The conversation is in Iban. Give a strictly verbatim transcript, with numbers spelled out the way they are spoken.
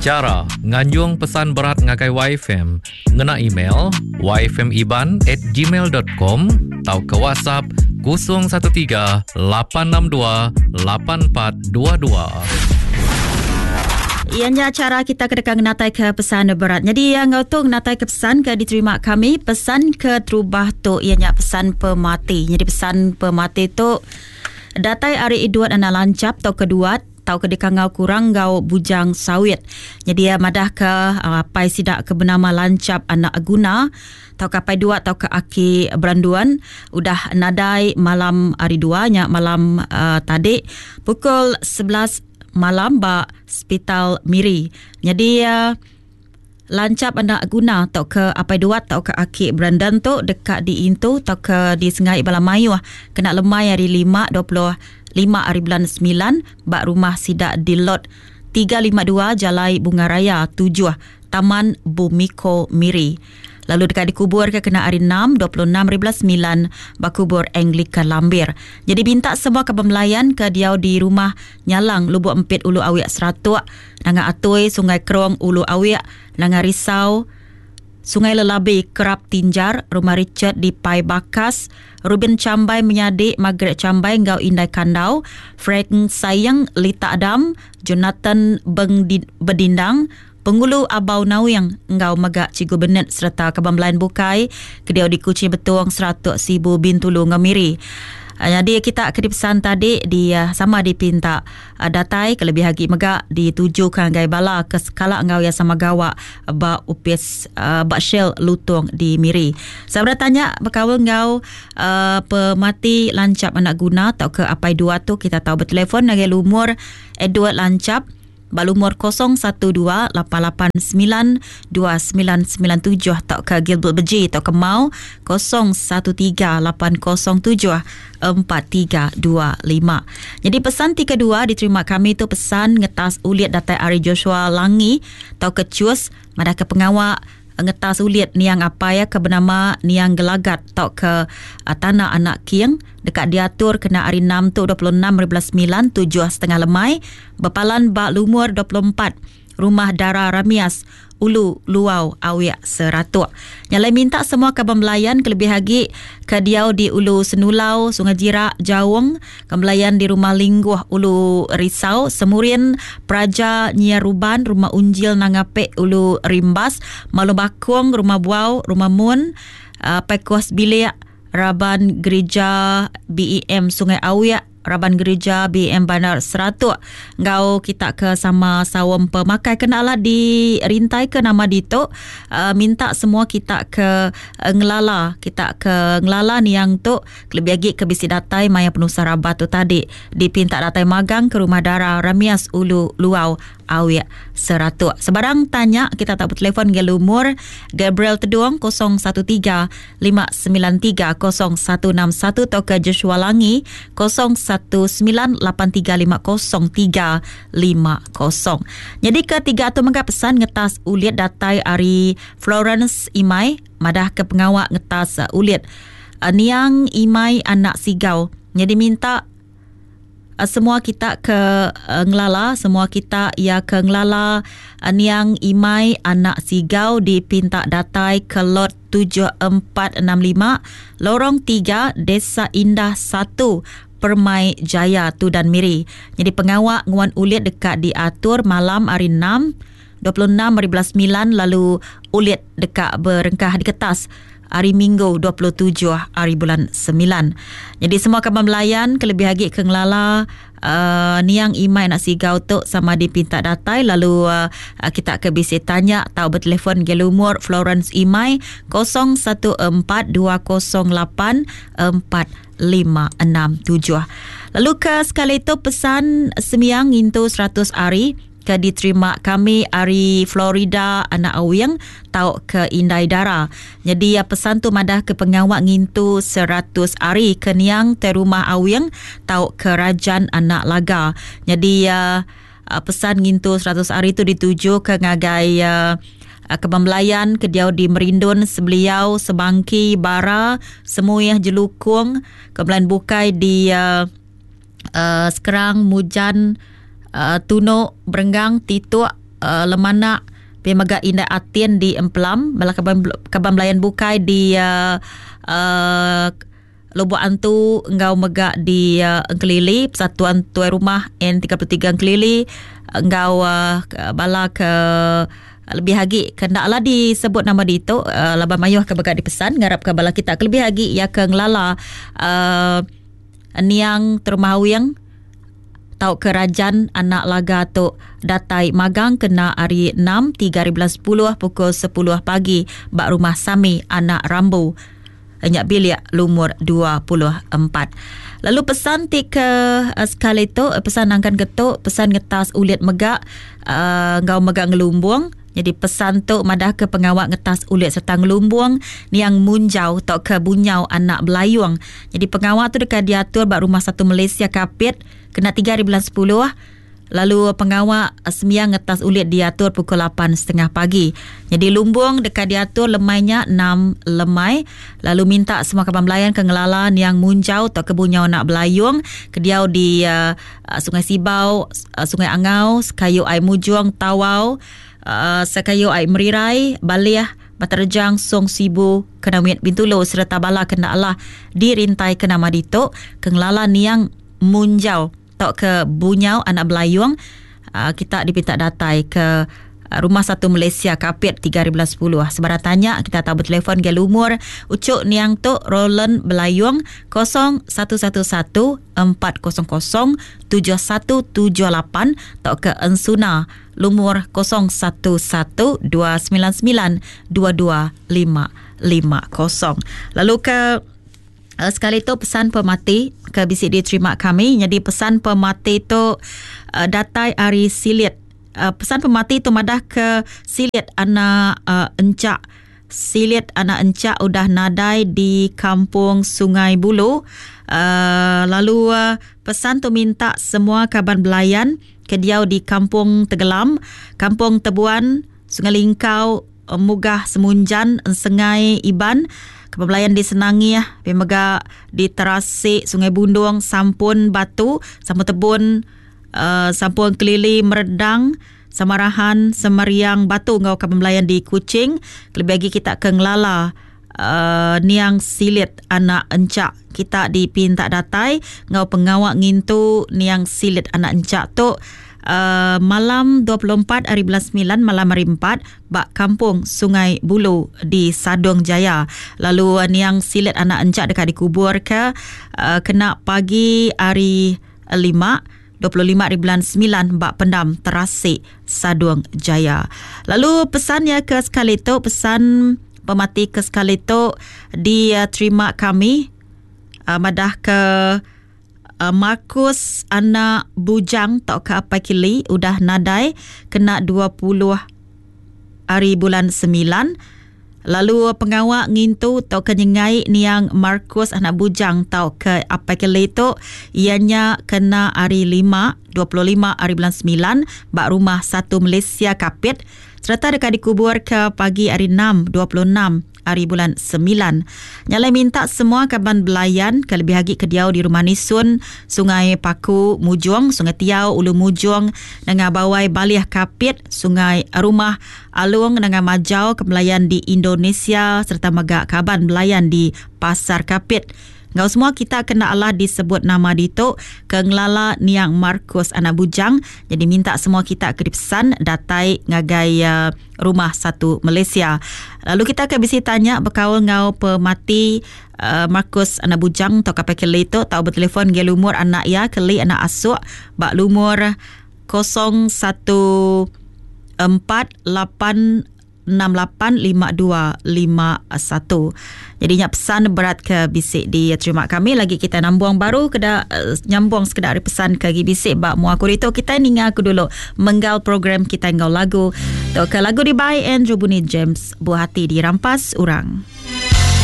Chara nganjung pesan berat ngagai Y F M ngena email y f m iban at gmail dot com tau ke WhatsApp kosong satu tiga lapan enam dua lapan empat dua dua. Ianya cara kita kedekang natai ke pesan berat. Jadi yang ngau tu natai ke pesan ke diterima kami, pesan ke terubah tu ianya pesan pemati. Jadi pesan pemati tu datai ari Edward anak lancap tau keduat tau ke dikangau kurang gau bujang sawit. Jadi ya madah ke uh, pai sidak ke bernama lancap anak guna tau ke pai dua tau ke aki beranduan udah nadai malam hari dua nya malam uh, tadi pukul sebelas malam ba Hospital Miri. Jadi uh, lancap anak guna tau ke apai dua tau ke aki Brandon tu dekat di Intu tau ke di Sengai Bala Mayuh kena lemai hari lima dua puluh lima hari bulan sembilan ba rumah sidak di lot tiga lima dua Jalai Bunga Raya tujuh Taman Bumiko Miri. Lalu dekat dikubur ke kena hari enam dua puluh enam hari bulan sembilan bakubur Anglican Lambir. Jadi minta semua ke pemelayan ke diau di rumah Nyalang Lubuk Empit Ulu Awiak Seratuk, Nanga Atui Sungai Kerong Ulu Awiak, Nanga Risau Sungai Lelabi Kerap Tinjar, Rumah Richard di Pai Bakas, Ruben Cambai Menyadik, Margaret Cambai Ngau Indai Kandau, Frank Sayang Lita Adam, Jonathan Beng Bedindang, Pengulu Abau Nauyang Ngau Megak Cigu Benet serta kebam lain bukai kediau di Kuching Betuang seratus sibu Bintulu Ngemiri. Jadi kita ke pesan tadi di sama dipinta datai kelebih lagi megak ditujukan gai bala ke skala ngau yang sama gawak ba upis ba Shell Lutong di Miri. Saya bertanya berkawal ngau uh, pemati lancap anak guna atau ke apai dua tu kita tahu bertelefon dengan lumur Edward Lancap balumur kosong satu dua lapan lapan sembilan dua sembilan sembilan tujuh atau ke Gilbert Beji atau ke Mau kosong satu tiga lapan kosong tujuh empat tiga dua lima. Jadi pesan tiga dua diterima kami tu pesan ngetas uliat datai Ari Joshua Langi atau ke Cus madah ke pengawak ngetas uliat niang apa ya ke bernama niang Gelagat atau ke uh, tanah anak King dekat diatur kena hari enam tu dua puluh enam hari bulan sembilan tujuh setengah lemai berpalan bak lumur dua puluh empat Rumah Dara Ramias Ulu Luau Awiak Seratuk. Nyalai minta semua kaban belayan kelebih lagi ke diau di Ulu Senulau, Sungai Jirak, Jaung, kembelayan di Rumah Lingguh Ulu Risau, Semurin, Praja Nyiaruban, Rumah Unjil Nangapek Ulu Rimbas, Malu Bakung, Rumah Buau, Rumah Mun, uh, Pekos Bilik, Raban Gereja B E M Sungai Awiak, Raban Gereja B M Bandar Seratuk. Ngau kita ke sama sawam pemakai kenalah di rintai ke nama dito. Uh, minta semua kita ke uh, ngelala, kita ke ngelala ni yang tu lebih lagi ke bisi datai maya penuh sarabat tu tadi dipinta datai magang ke Rumah Dara Ramias Ulu Luau Awiak Seratuk. Sebarang tanya kita tak bertelefon ke lumur Gabriel Teduong kosong satu tiga lima sembilan tiga kosong satu enam satu atau ke Joshua Langi kosong satu sembilan lapan tiga lima kosong tiga lima kosong. Jadi ketiga tu mengga pesan ngetas uliat datai ari Florence Imai madah ke pengawak ngetas uliat Niang Imai anak Sigau. Jadi minta semua kita ke uh, ngelala, semua kita ya ke ngelala uh, Niang Imai anak Sigau dipinta datai ke lot tujuh empat enam lima Lorong tiga Desa Indah satu Permai Jaya Tudan Miri. Jadi pengawak nguan uliat dekat diatur malam hari enam dua puluh enam hari bulan sembilan lalu uliat dekat berengkah di kertas hari Minggu dua puluh tujuh hari bulan sembilan. Jadi semua kaban belayan kelebih lagi ke ngelala uh, Niang Imai nak Sigau tu sama dipinta datai lalu uh, kita ke bisi tanya tau bertelefon ke lumur Florence Imai kosong satu empat dua kosong lapan empat lima enam tujuh. Lalu ke sekali tu pesan semiang ngintu seratus hari ke diterima kami ari Florida anak Awing tau ke Indai Dara. Jadi ya pesan tu madah ke pengawak ngintu seratus hari ke niang te rumah Awing tau ke Rajan anak Laga. Jadi ya pesan ngintu seratus hari tu dituju ke ngagai uh, kebambelayan ke diau di Merindun, Sebeliau, Sebangki, Bara, Semuyah Jelukung, kebelayan bukai di uh, uh, Sekerang, Mujan, Uh, Tunuk, Berenggang, Tituk, uh, Lemanak, pia mega Indai Atin di Empelam, bala kaban kaban belayan bukai di uh, uh, Lubuk Antu enggau mega di uh, Engkelili, Persatuan Tuai Rumah N tiga puluh tiga Engkelili enggau uh, bala ke lebih agi kena lah disebut nama ditu uh, laban mayuh ke mega dipesan ngarap ke bala kita kelebih agi ya ke ngelala uh, niang Termahawing tau ke Rajan anak laga tu datai magang kena hari enam tiga ribu sepuluh pukul sepuluh pagi bak rumah Sami anak Rambu nyak bilik lumur dua puluh empat. Lalu pesan ti ke uh, sekali tu pesan nangkan ketuk pesan ngetas ulit mega uh, ngau mega ngelumbung. Jadi pesan tu madah ke pengawak ngetas ulit serta ngelumbung niang munjau tau ke bunyau anak belayung. Jadi pengawak tu dekat diatur bak rumah satu Malaysia Kapit kena tiga hari bulan sepuluh. Lalu pengawak sembiang ngetas ulit diatur pukul lapan setengah pagi. Jadi lumbung dekat diatur lemainya enam lemai. Lalu minta semua kaban belayan ke ngelala niang munjau atau ke bunyau nak belayung ke diau di uh, Sungai Sibau, uh, Sungai Angau, Sekayu Ai Mujung, Tawau, uh, Sekayu Ai Merirai, Baliah, Baterjang, Song Sibu, Kenawit Bintulu serta bala kena Allah dirintai ke nama ditu ke ngelala niang munjau atau ke bunyau anak belayung. Uh, kita dipinta datai ke Rumah Satu Malaysia Kapit tiga ribu sepuluh. Sebarang tanya kita tahu bertelefon ke lumur ucuk niang tu Roland Belayung kosong satu satu satu empat kosong kosong tujuh satu tujuh lapan atau ke Ensuna lumur kosong satu satu dua sembilan sembilan dua dua lima lima kosong. Lalu ke sekali tu pesan pemati ke bisi diterima kami. Jadi pesan pemati tu uh, datai ari Silit. Uh, pesan pemati tu madah ke Silit anak uh, encak. Silit anak encak udah nadai di kampung Sungai Bulu. Uh, lalu uh, pesan tu minta semua kaban belayan ke diau di kampung Tegelam, kampung Tebuan, Sungai Lingkau, Mugah Semunjan, Sengai Iban, kepebelayan di Senangih, Pemega di Terasik, Sungai Bundung, Sampun Batu, Sampun Tebun, uh, Sampun Kelili Meredang, Samarahan, Semariang Batu ngau kepebelayan di Kuching. Lebih lagi kita ke ngelala uh, niang Silit anak encak. Kita dipinta datai ngau pengawak ngintu niang Silit anak encak tu Uh, malam dua puluh empat hari bulan sembilan malam hari empat bak kampung Sungai Bulu di Sadong Jaya. Lalu uh, niang Silit anak encak dekat dikubur ke uh, kena pagi hari lima dua puluh lima hari bulan sembilan bak pendam Terasik Sadong Jaya. Lalu pesannya ke sekali tu, pesan pemati ke sekali tu diterima kami uh, madah ke Markus anak bujang tau ke apai kili udah nadai kena dua puluh hari bulan sembilan. Lalu pengawak ngintu tau ke nyengai niang Markus anak bujang tau ke apai kili tu ianya kena hari lima dua puluh lima hari bulan sembilan bak rumah satu Malaysia Kapit serta dekat dikubur ke pagi hari enam dua puluh enam hari bulan sembilan. Nyalai minta semua kaban belayan ke lebih agi ke diau di rumah Nisun, Sungai Paku, Mujung, Sungai Tiau, Ulu Mujung, Nengah Bawai, Baliah Kapit, Sungai Rumah Alung, Nengah Majau, ke belayan di Indonesia serta mega kaban belayan di Pasar Kapit. Ngau semua kita kena Allah disebut nama ditu ke ngelala niang Markus anak bujang. Jadi minta semua kita ke dipesan datai ngagai uh, rumah satu Malaysia. Lalu kita akan bisi tanya berkaul ngau pemati uh, Markus anak bujang atau kapal keli tu tau bertelefon ge lumur anak ya keli anak asuk bak lumur kosong satu empat lapan enam lapan lima dua lima satu. Jadi nyak pesan berat ke bisik diterima kami. Lagi kita nambung baru keda uh, nyambung sekedar pesan ke gi bisik bak mua aku itu kita ninga aku dulu menggal program kita ngau lagu. Tok ke lagu di by Andrew Bunny James Buah Hati Dirampas Urang.